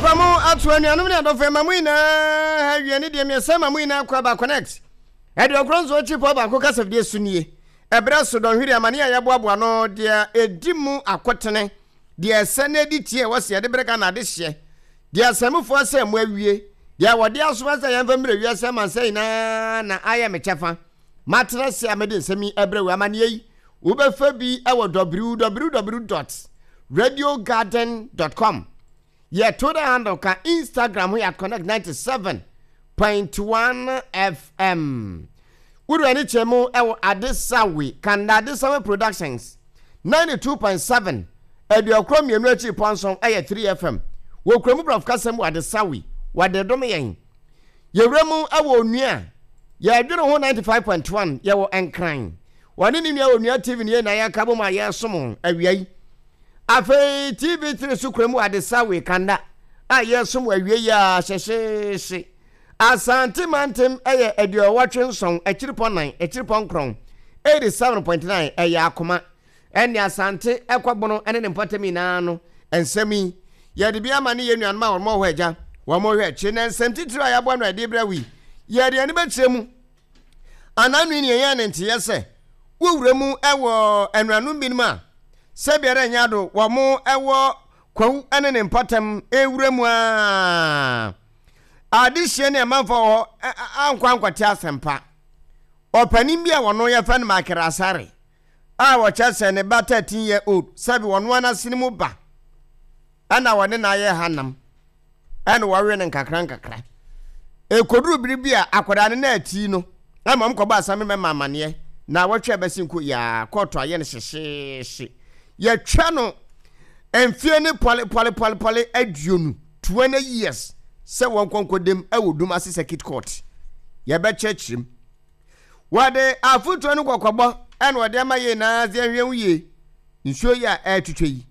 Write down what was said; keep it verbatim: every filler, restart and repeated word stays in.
Papa mo ato anuanom ne adɔfo ɛma mo nyinaa ha wie ne deɛ mmiɛnsa ma mo nyinaa kɔ aba Connect aduokron nson akyi pɔ baako kasafidie so nie. Ɛberɛ so dɔnhwere amane a yɛboaboa no deɛ ɛdi mu akotene deɛ ɛsɛ na ɛdi tie ɛwɔ sɛ yɛde berɛ Ghana adehyeɛ deɛ asɛmfoɔ sɛ mo awie deɛ wɔde asoma sɛ yɛmfa mmerɛ wiase amansa nyinaa na ayɛ me kyɛfa. Matena se a mede nsɛm yi ɛberɛ wɔ amanneɛ yi wobɛfa bi ɛwɔ w w w dot radiogarden dot com. Yɛ Twitter handle ka Instagram ho yɛ Connect ninety-seven point one F M. Wode ani kyerɛ mu ɛwɔ Adesawe Kanda Adesawe Productions ninety-two point seven aduokoro mmienu akyi pɔnson ɛyɛ three F M wɔ kurom borɔfo kasɛm wɔ Adesawe wɔde dom yɛn. Yɛwura mu ɛwɔ Onua Yɛdwene Ho ninety-five point one, yɛwɔ Nkran wɔne ne nua Onua T V ne yɛn na yɛka bɔ mu a yɛresom awia yi. Afei T V three so kurom wɔ Adesawe Kanda a yɛresom wɔ awia yi a hyɛhyɛhyɛ. Asante Mantem ɛyɛ aduɔwɔtwe nson akyiripɔ nan akyiripɔ nkron eighty-seven point nine ɛyɛ Akoma ɛne Asante ɛkɔbono ɛne ne mpɔtam nyinaa no. Nsɛm yi yɛde bi ama ne yɛn nuanom a wɔn wɔ hɔ agya wɔn hwɛ akyi na nsɛm titiri a yɛabɔ no ɛde brɛ wi yɛde ani bɛkyerɛ mu ananu ne yɛn ne nteɛ sɛ wowura mu ɛwɔ anuanom binom a sɛbiara nyɛ ado wɔn ɛwɔ Kwawu ɛne ne mpɔtam ewura mu a adehyia ne ɛmanfo wɔ hɔ ankɔ ankɔte asɛmpa. Ɔpanin bi a wɔno yɛfɛ no Michael Asare a wɔkyɛ sɛ ne ba thirteen year old sɛbi wɔno anasene mu ba ɛna wɔne na ayɛ hanam ɛna wɔwe no nkakra nkakra ekoduru biri bi a akwadaa no na ati no ɛma ɔmo kɔbɔ asame mɛma amaneɛ na wɔtwe ɛbɛsi nko yaa kɔɔto ayɛ no hyehyeehye yɛtwa no mfie ne pɔle pɔle pɔle pɔle aduonu, twenty years, sɛ wɔn kɔnkɔ ɛwɔ Dumase Circuit Court. Yɛbɛkyerɛkyerɛ mu wɔde afotuo no kɔkɔbɔ ɛna wɔde ama yie naa sɛ yɛnhwɛ ho yie. Nsuo yi a ɛretwitwa yi